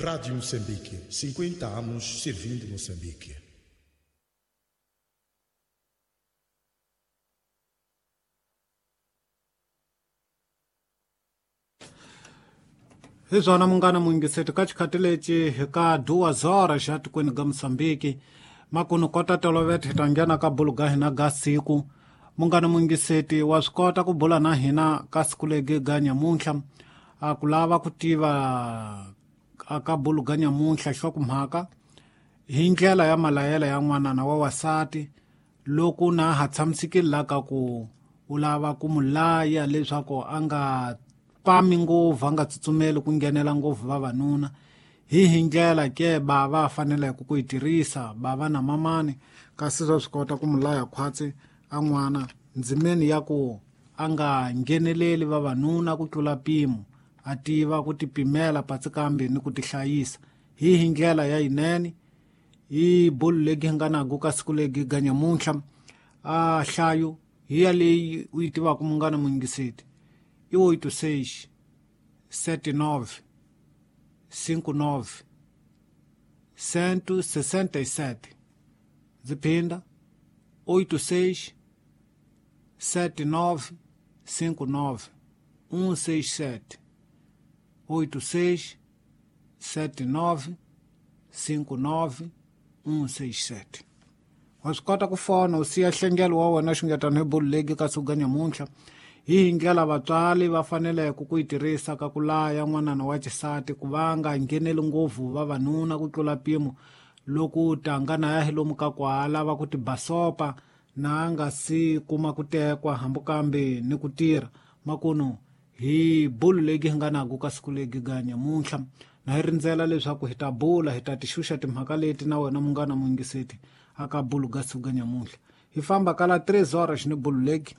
Rádio Moçambique, 50 anos servindo Moçambique. Hi swona munghana muyingiseti ka xikhathi lexi hi ka duas horas xa tikweni ga Moçambique makunu kota tolovete hi ta nghena ka bulu ga hina ga siku. Munghana muyingiseti wa swi kota ku bula na hina ka siku legi ga nyamuntlha a ku lava ku tiva ka bulu ga nyamuntlha hlokomhaka hi ndlela ya malayela ya n'wanana wa wasati loko na ha tshamisekile la ka ku u lava ku mu laya leswaku a nga pami ngopfu a nga tsutsumeli ku nghenela ngopfu vavanuna hi ndlela ke bava faneleke ku yi tirhisa bava na mamani kasi swa swi kota ku mu laya khwatsi a n'wana ndzimeni ya ku a nga ngheneleli vavanuna ku tlula mpimo a tiva ku tipimela patsi kambe ni ku tihlayisa hi ndlela ya yinene hi bulu legi hi nga naku ka siku legi ga nyamuntlha a hlayo hi ya leyi u yi tivaka munghana muyingiseti i 86 79 59 167. Ndzi phinda 86 79 59 167 86 79 59 167. Wa swi kota ku fona u siya nhlengelo wa wena xungetana hi bulu legi ka siku ga nyamuntlha hi ndlela vatswari va faneleke ku yi tirhisa ka ku laya n'wanana wa xisati ku va nga ngheneli ngopfu vavanuna ku tlula mpimo loko tanga na ya hi lomu ka ku ha lava ku tibasopa na nga si kuma ku tekwa hambi kambe ni ku tirha makunu hi bulu legi hi nga naku ka siku legi ga nyamuntlha na hi rindzela leswaku hi ta bula hi ta tixuxa timhaka leti na wena munghana muyingiseti aka bulu ga siku ga nyamuntlha hi famba kala 3 horas ni bulu legi.